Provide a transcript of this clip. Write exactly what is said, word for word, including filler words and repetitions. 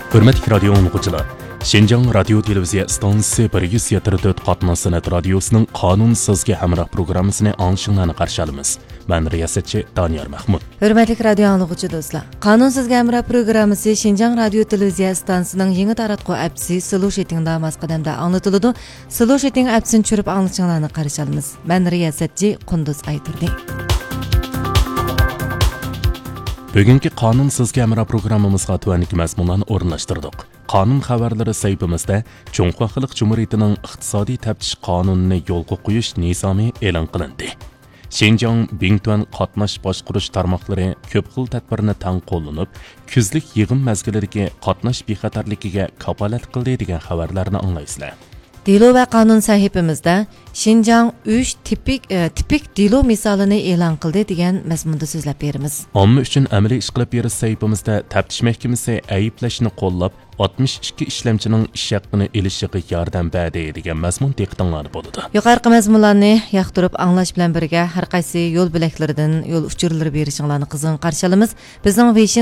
ھۆرمەتلىك رادىيو ئاڭلىغۇچىلار، شىنجاڭ رادىيو تېلېۋىزىيە ئىستانسىسى بىر يۈز يەتتە تۆت قاتناش سەنئەت رادىيوسىنىڭ قانۇن سىزگە ھەمراھ پروگراممىسىنى ئاڭلىشىڭلارنى قارشى ئالىمىز. مەن رىياسەتچى دانىيار مەخمۇت. ھۆرمەتلىك رادىيو ئاڭلىغۇچى دوستلار، قانۇن سىزگە ھەمراھ پروگراممىسى شىنجاڭ رادىيو تېلېۋىزىيە ئىستانسىسىنىڭ يېڭى تاراتقۇ ئەپچىسى سلوشىتىڭدا ماس قەدەمدە ئاڭلىتىلىدۇ. سلوشىتىڭ ئەپچىسىنى چۈشۈرۈپ ئاڭلىشىڭلارنى قارشى ئالىمىز. مەن رىياسەتچى قۇندۇز ئايتۇردى. بۈگۈنكى قانۇن سىزگە ھەمراھ پروگراممىمىزغا تۆۋەندىكى مەزمۇنلارنى ئورۇنلاشتۇردۇق. قانۇن خەۋەرلىرى سەھىپىمىزدە جۇڭخۇا خەلق جۇمھۇرىيىتىنىڭ ئىقتىسادىي تەپتىش قانۇنىنى يولغا قويۇش نىزامى ئېلان قىلىندى. شىنجاڭ بىڭتۈەن قاتناش باشقۇرۇش تارماقلىرى كۆپ خىل تەدبىرنى تەڭ قوللىنىپ، كۈزلۈك يىغىن مەزگىلىدىكى قاتناش بىخەتەرلىكىگە كاپالەتلىك قىلدى دېگەن خەۋەرلەرنى ئاڭلايسىلەر. دېلو ۋە قانۇن سەھىپىمىزدە شىنجاڭ ئۈچ تىپىك، ئە، تىپىك دېلو مىسالىنى ئېلان قىلدى دېگەن مەزمۇندا سۆزلەپ بېرىمىز. ئامما ئۈچۈن ئەمەلىي ئىش قىلىپ بېرىش سەھىپىمىزدە تەپتىش مەھكىمىسى ئەيىبلەشنى قوللاپ، ئاتمىش ئىككى ئىشلەمچىنىڭ ئىش ھەققىنى ئېلىشىغا ياردەم بەردى دېگەن مەزمۇن دىققىتىڭلاردا بولىدۇ. يۇقىرىقى مەزمۇنلارنى ياقتۇرۇپ ئاڭلاش بىلەن بىرگە، ھەر قايسى يول بۆلەكلىرىدىن يول ئۇچۇرلىرى بېرىشىڭلارنى قىزغىن قارشى ئالىمىز. بىزنىڭ ۋېيشىن